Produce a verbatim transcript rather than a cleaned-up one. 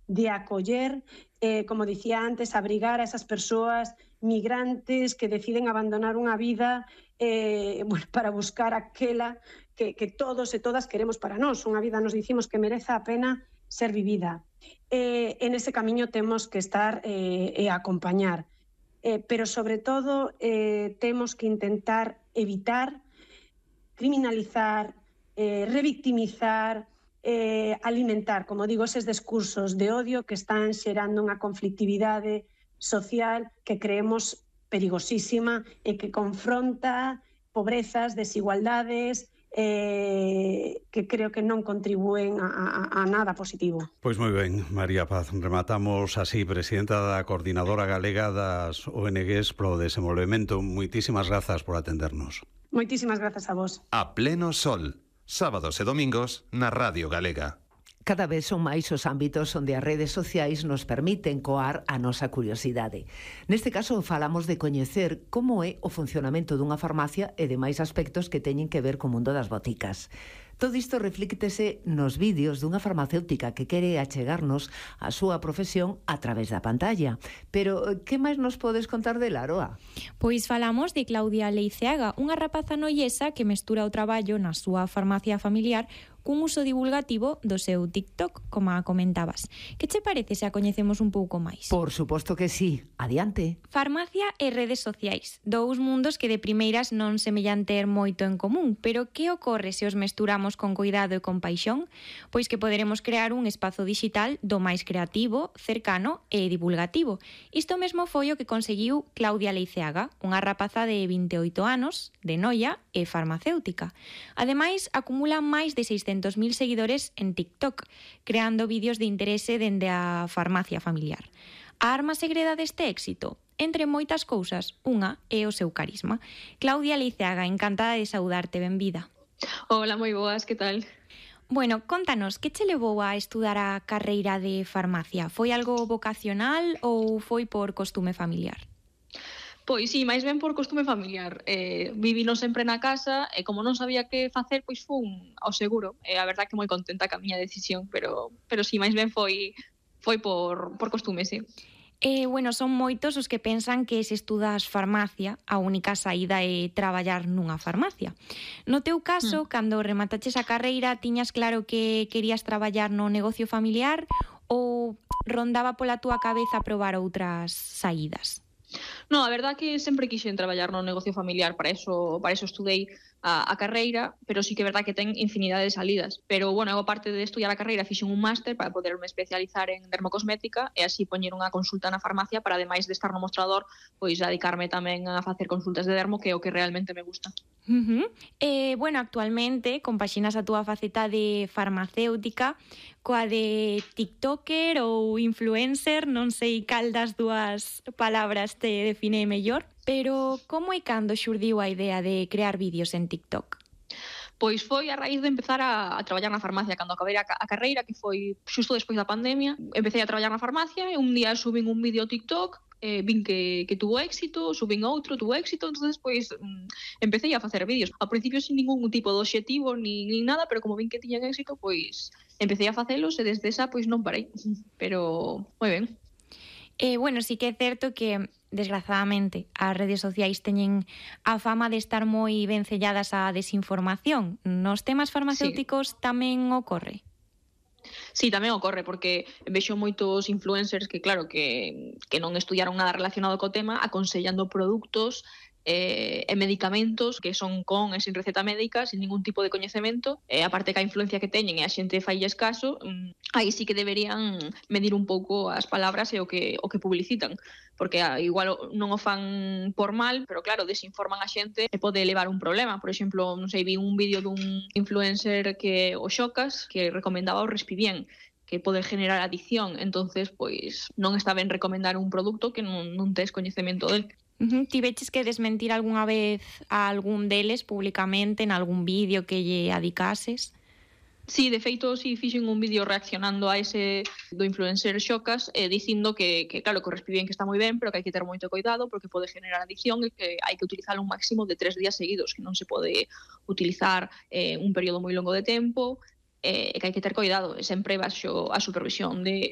de acoller, eh, como dicía antes, abrigar a esas persoas migrantes que deciden abandonar unha vida eh, bueno, para buscar aquela que, que todos e todas queremos para nós, unha vida nos dicimos que mereza a pena ser vivida. Eh, en ese camiño temos que estar eh, e acompañar, eh, pero sobre todo eh, temos que intentar evitar criminalizar, eh, revictimizar, eh, alimentar, como digo, eses discursos de odio que están xerando unha conflictividade social que creemos perigosísima e que confronta pobrezas, desigualdades, eh, que creo que non contribúen a, a, a nada positivo. Pois moi ben, María Paz, rematamos así, presidenta da Coordinadora Galega das O N Ges pro Desenvolvemento. Moitísimas grazas por atendernos. Moitísimas grazas a vos. A pleno sol, sábados e domingos na Radio Galega. Cada vez son máis os ámbitos onde as redes sociais nos permiten coar a nosa curiosidade. Neste caso falamos de coñecer como é o funcionamento dunha farmacia e demais aspectos que teñen que ver co mundo das boticas. Todo isto reflíctese nos vídeos dunha farmacéutica que quere achegarnos a súa profesión a través da pantalla. Pero que máis nos podes contar de Laroa? Pois falamos de Claudia Leiceaga, unha rapaza noiesa que mestura o traballo na súa farmacia familiar cun uso divulgativo do seu TikTok, como a comentabas. Que che parece se a coñecemos un pouco máis? Por suposto que sí. Adiante. Farmacia e redes sociais. Dous mundos que de primeiras non semellan ter moito en común, pero que ocorre se os mesturamos con cuidado e con paixón? Pois que poderemos crear un espazo digital do máis creativo, cercano e divulgativo. Isto mesmo foi o que conseguiu Claudia Leiceaga, unha rapaza de vinte e oito anos, de Noia e farmacéutica. Ademais, acumula máis de seiscentos mil seguidores en TikTok, creando vídeos de interese dende a farmacia familiar. A arma segreda deste éxito? Entre moitas cousas, unha é o seu carisma. Claudia Leiceaga, encantada de saudarte, benvida. Hola, moi boas, que tal? Bueno, contanos, que che levou a estudar a carreira de farmacia? Foi algo vocacional ou foi por costume familiar? Pois sí, máis ben por costume familiar. Eh, vivino sempre na casa e como non sabía que facer, pois fun ao seguro. E a verdad que moi contenta ca miña decisión, pero pero sí, máis ben foi foi por por costume, sí. Eh, bueno, son moitos os que pensan que se estudas farmacia, a única saída é traballar nunha farmacia. No teu caso, mm. cando remataches a carreira, tiñas claro que querías traballar no negocio familiar ou rondaba pola túa cabeza probar outras saídas? No, a verdad que sempre quixen traballar no negocio familiar, para eso, para eso estudei a, a carreira, pero sí que é verdad que ten infinidade de salidas. Pero, bueno, eu aparte de estudiar a carreira, fixen un máster para poderme especializar en dermocosmética e así poñer unha consulta na farmacia para, ademais de estar no mostrador, pois dedicarme tamén a facer consultas de dermo, que é o que realmente me gusta. Uh-huh. Eh, bueno, actualmente compaxinas a túa faceta de farmacéutica coa de tiktoker ou influencer, non sei cal das dúas palabras te define mellor, pero como e cando xurdiu a idea de crear vídeos en TikTok? Pois foi a raíz de empezar a, a traballar na farmacia cando acabei a, a carreira, que foi xusto despois da pandemia. Empecé a traballar na farmacia e un día subín un vídeo a TikTok, eh, vin que, que tuvo éxito, subín outro, tuvo éxito, entonces pois mm, empecé a facer vídeos. Ao principio sin ningún tipo de obxectivo ni, ni nada, pero como vin que tiñan éxito, pois empecé a facelos e desde esa pois non parei. Pero moi ben. Eh, bueno, sí que é certo que, desgrazadamente, as redes sociais teñen a fama de estar moi vencelladas á desinformación. Nos temas farmacéuticos sí. Tamén ocorre? Sí, tamén ocorre, porque vexo moitos influencers que, claro, que, que non estudiaron nada relacionado co tema, aconsellando produtos eh, e medicamentos que son con e sin receta médica, sin ningún tipo de coñecemento, e aparte que a influencia que teñen e a xente failles caso, mmm, aí sí que deberían medir un pouco as palabras e o que, o que publicitan, porque ah, igual non o fan por mal, pero claro, desinforman a xente e pode levar un problema. Por exemplo, non sei, vi un vídeo dun influencer que o Xocas, que recomendaba o Respibien, que pode generar adicción, entonces pois non está ben recomendar un produto que non, non tes coñecemento del. Uh-huh. Ti veches que desmentir algunha vez a algún deles públicamente en algún vídeo que lle adicases? Sí, de feito, sí, fixen un vídeo reaccionando a ese do influencer Xocas, eh, dicindo que, que claro, que o Respibien que está moi ben, pero que hai que ter moito cuidado porque pode generar adicción e que hai que utilizar un máximo de tres días seguidos, que non se pode utilizar eh, un período moi longo de tempo, e eh, que hai que ter cuidado, sempre baixo a supervisión de,